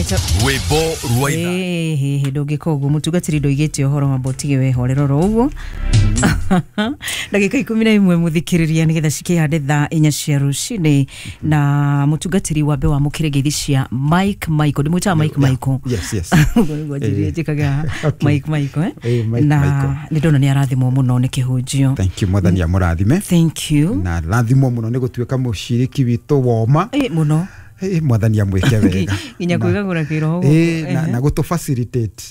Rwĩmbo rwa ithaa. Ĩĩ, ndũngĩka ũguo, mũtungatĩri, ndoigĩte ũhoro wamba ũtige wehorera oro ũguo. Ndagĩka 11, mũthikĩrĩria, nĩgetha cikĩhande thaa 4 cia rũcinĩ. Na mũtungatĩri, wambe wamũkĩre ngeithi cia Mike Michael. Ndĩmwĩtaga Mike Michael. Yes. Ũguo nĩguo njĩrire njĩkaga. Mike Michael, eh? Mike Na Michael. nĩ ndona nĩ arathimwo mũno nĩ kĩhunjio. Thank you, Mwathani amũrathime. Thank you. Na rathimwo mũno nĩ gũtuĩka mũciriki witũ woma. Ĩ, mũno. Mwathani amwĩke wega. Nginya kwĩgagũra kĩroho. Na gũtũ facilitate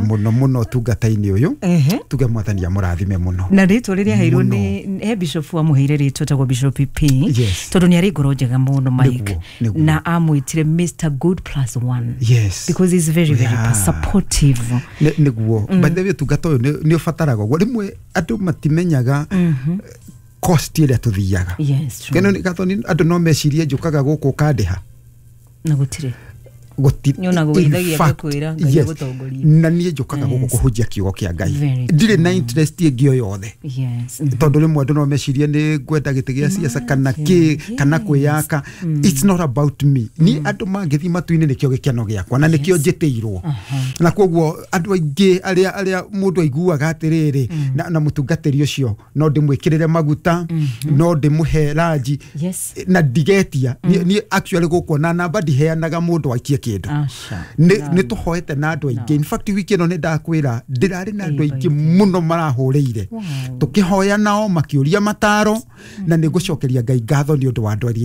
mũno mũno ũtungata-inĩ ũyũ. Tuge Mwathani amũrathime mũno. Na rĩtwa rĩrĩa aheirwo Mũno. nĩ he bishop amũheire rĩtwa tagwo Bishop P, tondũ nĩ arĩ ngoro njega mũno Mike. Nĩguo. Na amwĩtire Mr Good plus one because he's very very supportive. Nĩguo. By the way, ũtungata ũyũ nĩ ũbataraga ũguo. Rĩmwe andũ matimenyaga cost ĩrĩa tũthiaga. Yes, true. Keno Gathoni, andũ no mecirie njũkaga gũkũ ũkandĩha. Na gũtirĩ. Nĩ ona gũgeithagia, ngakwĩra, Ngai agũtongorie. Na niĩ njũkaga gũkũ kũhunjia kiugo kĩa Ngai. Very. Ndirĩ na interest ĩngĩ o yothe, tondũ rĩmwe andũ no mecirie nĩ ngwenda gĩtĩ gĩa siasa kana kĩ kana kwĩyaka. It's not about me. Niĩ andũ mangĩthiĩ matu-inĩ, nĩkĩo gĩkeno gĩakwa na nĩkĩo njĩtĩirwo. Na koguo andũ aingĩ arĩa mũndũ aiguaga atĩrĩrĩ, na mũtungatĩri ũcio no ndĩmwĩkĩrĩre maguta, no ndĩmũhe ranji na ndigetia. Niĩ actually gũkũ na namba ndiheanaga mũndũ aikie kĩndũ. Aca. Nĩ tũhoete na andũ aingĩ. In fact, wiki ĩno nĩ ndakwĩra ndĩrarĩ na andũ aingĩ mũno marahũrĩire, tũkĩhoya nao makĩũria mataro, na nĩ ngũcokeria Ngai ngatho nĩ ũndũ wa andũ arĩa